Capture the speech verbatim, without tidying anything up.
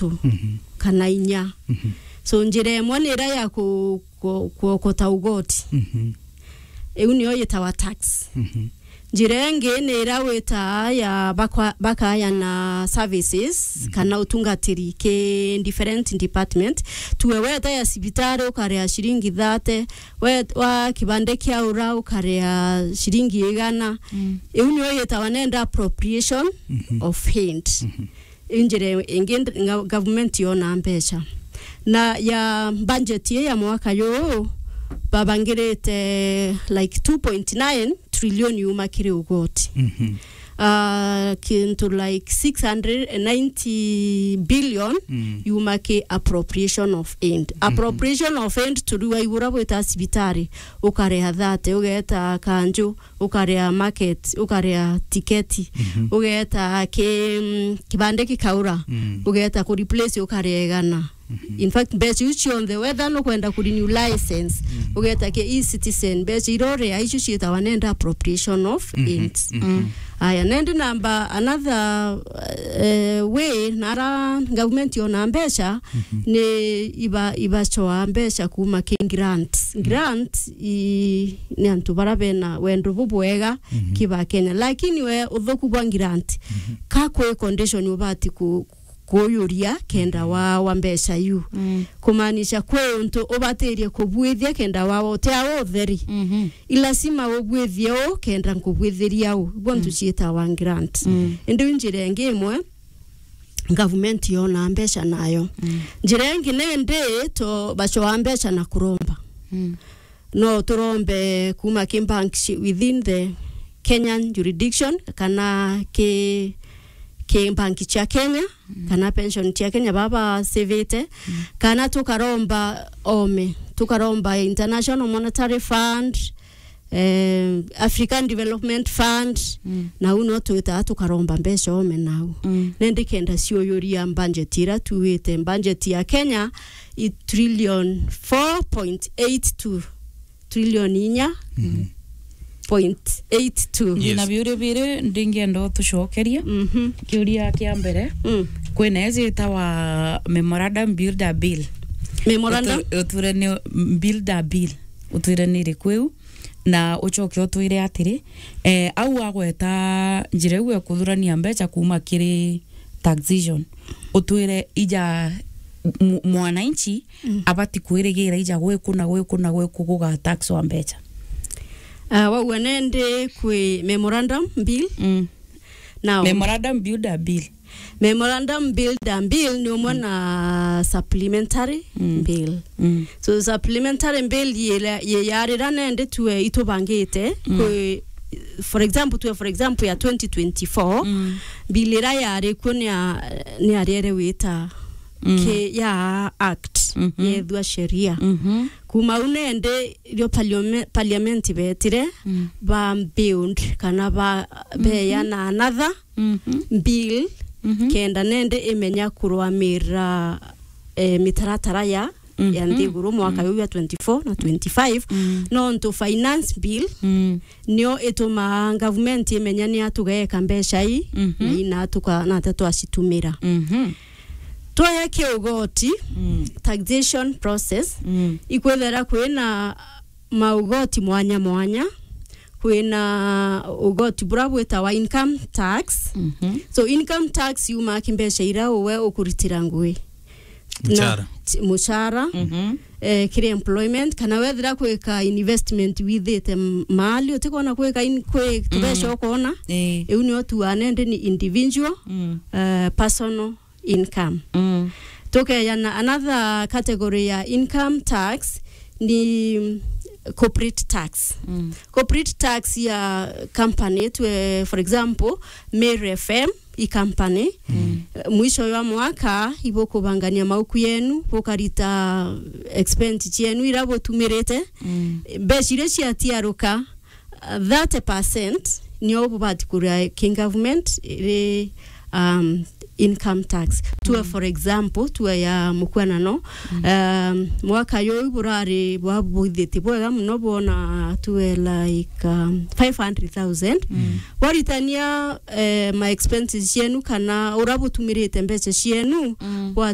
ithatu Mhm. kana inya. Mhm. So, njira imwe ni ira ya ku-, ku-, kuokota ugoti. Mhm. Iu niyo yitawa tax. Mhm. Njira ingi ni ira witaa ya bakwa-, bakayana services Mhm. kana utungatiri ki different department. Tuwe weta ya cibitari ukaria ciringi thate, we-, wa kibande kia ura ukaria ciringi igana. Mm. Iu niyo yitawa nenda appropriation Mhm. of aid. Mhm. Injira ingi nd-, nga-, government yona mbeca. Na ya budget ii ya mwaka juu, babangirite, like, two point nine trillion yuma kiri ugoti. Mhm. Ah, kintu like six hundred and ninety billion Mm. yuma ki appropriation of aid. Mhm. Appropriation of aid turiwa igura bwita cibitari, ukaria thate, ugeta kanju, ukaria market, ukaria tiketi, Mhm. ugeta ki, mm, kibande kikaura, Mm. ugeta ku replace ukaria igana. Mhm. In fact, mbeca iu cionthe, whether nukwenda ku renew license, Mm. ugeta ki e-citizen, mbeca iria uria icio ciitawa nenda appropriation of Mhm. aid. Mhm. Mm. Aya, nendi namba another, eh, way nara government yona mbeca Mhm. ni iba-, ibacoa mbeca kuma ki grant. Mm. Grant i-, ni antu bara bena wendo bubwega Mhm. ki ba Kenya. Lakini we uthuku bwa grant, Mhm. ka kwi condition ubati ku-, kuyuria kenda Mhm. wawa mbeca iu. Mm. Kumaanisha kwi untu ubatirie kubwithia kenda wawa uti au utheri. Mhm. I lazima ubwithie u kenda nkubwithiria u. Igua ntu Mm. ciitawa grant. Mm. Indi u njira ingi imwe, government yona mbeca nayo. Mm. Njira ingi nendi to bacoa mbeca na kuromba. Mm. No turombe kuma ki bank ci-, within the Kenyan jurisdiction, kana ki, ki bank cia Kenya, Mm. kana pension cia Kenya baba savete, Mm. kana tukaromba ome, tukaromba International Monetary Fund, eh, African Development Fund, Mm. na u no twitaga tukaromba mbeca ome nau. Mm. Nendi kenda ciuyuria budget ira tuwite, budget ya Kenya i trillion four point eight two, trillion inya Mhm. point eight two. Yes. Na biuria biri ndingienda utucokeria. Mhm. Kiuria kia mbere, Mm. kwina ejitawa memorandum builder bill. Memorandum? Utu-, utwire ni builder bill. Utwire ni iriku iu? Na ucoke utwire atiri, eh, au agweta njira iu ya kuthurania mbeca kuma kiri taxation, utwire ija mu-, mwananchi Mm. abati kwirigira ija gwiku na gwiku na gwiku guga tax wa mbeca. Ah, wauga nendi kwi memorandum bill? Mm. Now, memorandum builder bill. Memorandum builder bill ni umwe Mm. na supplementary Mm. bill. Mm. So supplementary bill yira, ye yarira nendi tue itubangite Mm. kwi, for example, tue for example ya twenty twenty-four, Mm. bill ira yari kuo ni ya, ni ariere wita Mm. ki ya act, Mhm. yethua sheria. Mhm. Kuma u nendi rio parliame-, parliament betire, Mm. ba build kana ba, Mhm. beana another Mhm. bill, Mhm. kenda nendi imenya kurwamira, eh, mitaratara ya, ya Mhm. nthiguru mwaka Mhm. uyu ya twenty-four na twenty-five. Mm. Nontu finance bill Mm. nio itumaa government imenya ni atugeeka mbeca ii, Mhm. na ina tuka-, na ata twacitumira. Mhm. Twaya ki ugoti, Mm. taxation process, Mm. ikwithira kwina maugoti mwanya mwanya, kwina ugoti bura bwitawa income tax. Mhm. So income tax yumaa ki mbeca ira uwe ukuritira ngui. Na Muchara. Ti-, muchara, Mhm. eh, kiri employment, kana wethira kwika investment withite m-, mali, utikwona kwika in-, kwi tubeca Mm. ukona, Eh. iu nio tuane ndi ni individual, Mm. eh, personal income. Mm. Tukeyana another category ya income tax ni corporate tax. Mm. Corporate tax ya company, tue, for example, Meru F M i company. Mm. Eh, mwisho wa mwaka, ibukubangania mauku yenu, bukarita expense cienu ira butumirite. Mm. Mbeca iria ciatiaruka, thirty percent nio bubati kuria ki government iri, um, income tax. Tue, mm, for example, tue ya mukwanano, mm, um, mwaka yuu burari bwabwithitie bwega muno, bwona tue like, um, five hundred thousand. Mm. Bwaritania, eh, ma expenses cienu kana ura butumirite mbeca cienu, mm, bwa